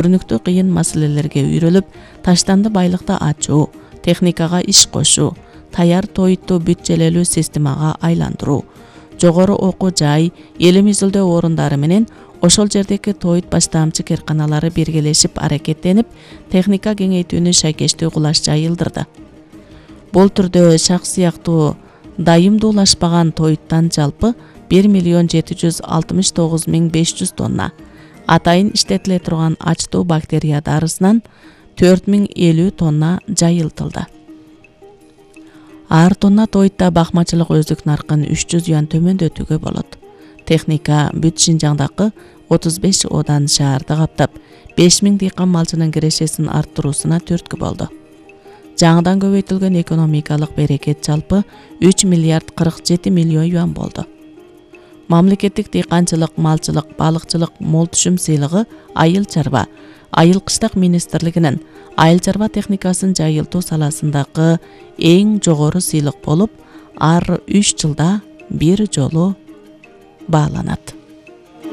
көрүнүктүү кыйын маселелерге үйрөлүп, таштанды байлыкты ачуу, техникага иш кошуу, таяр тоютту бүт-желелүү системага айландыруу, жогору окуу жай, элим изилдөө орундары менен ошол жердеги тоют баштаамчы кээрканалары биргелешип аракеттенип, техника кеңейтүүнү шайкештүү кылаш жайылдырды. Бул түрдө шак сыяктуу дайымдуулашпаган тоюттан жалпы 1.769.500 тонна, атайын иштетиле турган ачтуу бактерия дарысынан 4050 тонна жайылтылды. Ар тонна тоютта бакмачылык өздүк наркын 300 юан төмөндөтүүгө болот. Техника бүт Шинжаңдагы 35 одан шаарды каптап, 5000 дыйкан малчынын кирешесин арттыруусуна түрткү болду. Жаңыдан көбөйтүлгөн экономикалык берекет жалпы 3 миллиард 47 миллион юан болду. Мамлекеттик дыйканчылык, малчылык, балыкчылык мол түшүм сыйлыгы айыл чарба, айыл кыштак министрлигинин айыл чарба техникасын жайылтуу саласындагы эң жогору сыйлык болуп, ар 3 жылда бир жолу бааланат.